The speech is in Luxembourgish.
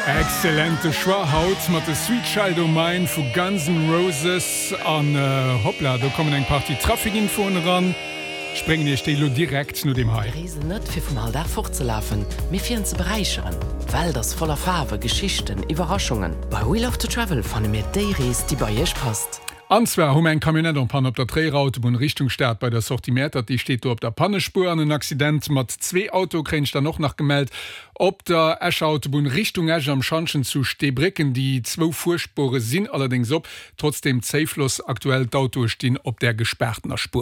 Excellente Choix haut mat de Sweet Child O' Mine vu Guns N' Roses. An hoppla, do kommen eng Partie Traficinfoen eran. Ech bréngen iech déi elo direkt no deem hei. Mir reesen net, fir vum Alldag fortzelafen, mee fir en ze beräicheren. D'Welt ass voller Faarwe, Geschichten, Iwwerraschungen. Bei We Love to Travel fanne mir déi Rees, déi bei iech passt. An zwar hu mer eng Camionnette en panne op der Tréierer Autobunn Richtung Stad bei der Sortie Mäertert. Déi steet do op der Pannespuer. An en Accident mat zwee Autoe kréien ech dann och nach gemellt op der Escher Autobunn Richtung Esch am Schantjen zu Steebrécken. Déi zwou Fuerspuere sinn allerdéngs op. Trotzdem Zéifloss aktuell, d'Autoe stinn op der gespaartener Spuer.